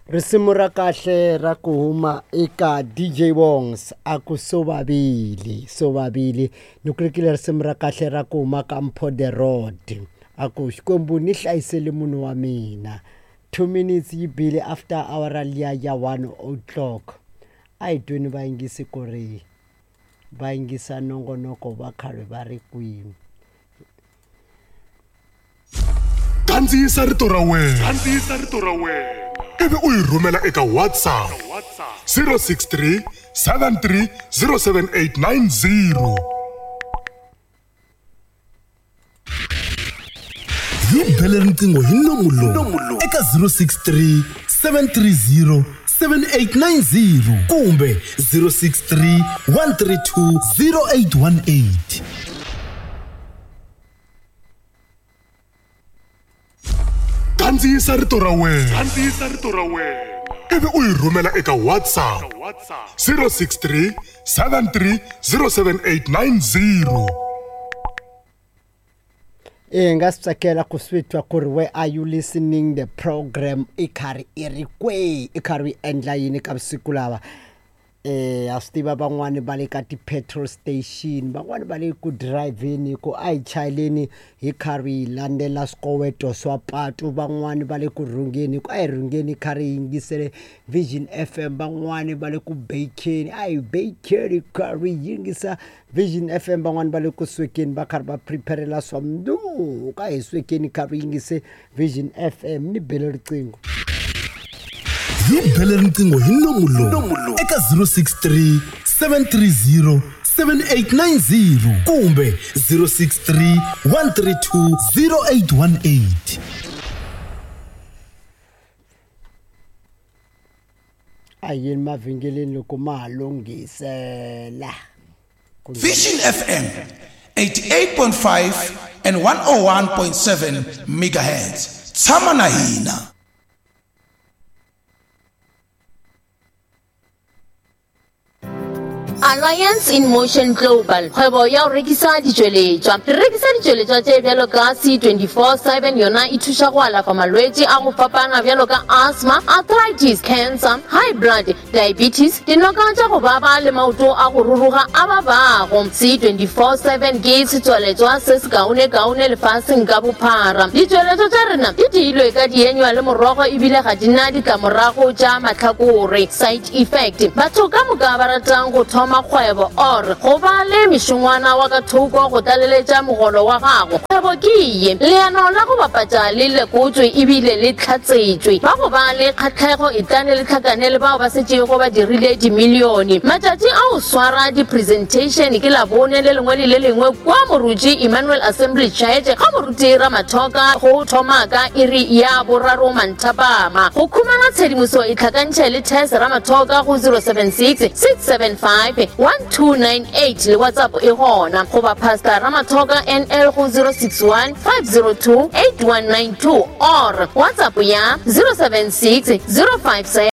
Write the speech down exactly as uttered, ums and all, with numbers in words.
Risimu ra kahle ra ku huma eka D J Wongs, a ku "Sovavili Sovavili". Ni ku lekile risimu ra kahle ra ku huma ka Mpho the Road, a ku "Xikwembu ni hlayisele munhu wa mina". Two minutes yi bile after awara liya ya one o'clock. A hi tweni vayingisi ku ri va yingisa nongonoko va karhi va ri kwini. Kandziyisa rito ra wena, kandziyisa rito ra wena, ivi u yi rhumela eka WhatsApp zero six three seven three zero seven eight nine zero. Hi bele riqingho hi nomu lowu eka zero six three seven three zero seven eight nine zero kumbe zero six three one three two zero eight one eight. Kandziyisa rito ra wena, kandziyisa rito ra wena, ivi u yi rhumela eka WhatsApp zero six three seven three zero seven eight nine zero. E nga swi tsakela ku swi twa ku ri where are you listening the program, i karhi i ri kwihi, i karhi u endla yini ka vusiku lava. eh a swi tiva van'wani va le ka ti-petrol station, van'wani va le ku driveni, ku a hi chayeleni hi karhi hi landzela swikoweto swa patu. Van'wani va le ku rhungeni, ku a hi rhungeni karhi hi yingisele Vision F M. Van'wani va le ku bakeni, a hi bakeni karhi hi yingisa Vision F M. Van'wani va le ku swekeni, va karhi va preparela swa mundzuku, a hi swekeni karhi hi yingise Vision F M. Ni bele riqingho. Hi bele riqingho hi nomu lowu eka zero six three seven three zero seven eight nine zero kumbe zero six three one three two zero eight one eight. A yini mavhengeleni loko ma ha lunghisela? Vision F M eighty-eight point five and one oh one point seven megahertz. Tshama na hina. Alliance in Motion Global, kgwebo ya go rekisa ditšweletšwa. Re rekisa ditšweletšwa tše bjalo ka C twenty-four seven, yona e thuša go alafa malwetši a go fapana bjalo ka asthma, arthritis, cancer, high blood, diabetes, dinoka tša go baba le maoto a go ruruga a babago. C twenty-four seven ke setswaletšwa se se kaone-kaone lefaseng ka bophara. Ditšweletšwa tša rena di diilwe ka dienywa le morogo, ebile ga di na ditlamorago tša mahlakore, side effect. Batho ka moka ba ratang go thoma kgwebo or go ba le mešongwana wa ka thoko go tlaleletša mogolo wa gago, kgwebo ke ye. Leano la go bapatša le lekotswe ebile le tlhatsetšwe. Ba go ba le kgatlhego, etlane le tlhakane le bao ba setšego ba dirile dimilione. Matšatši a go swara di-presentation ke Labone le lengwe le le lengwe kwa Moruti Emmanuel Assembly Church ga Moruti Ramathoka, go thoma ka iri ya boraro manthapama. Go khumana tshedimoso, e tlhakantšhe le Tess Ramathoka go zero seven six six seven five one two nine eight, le WhatsApp e gona, goba Pastor Ramathoka N L go zero six one five zero two eight one nine two or WhatsApp ya zero seven six zero five seven.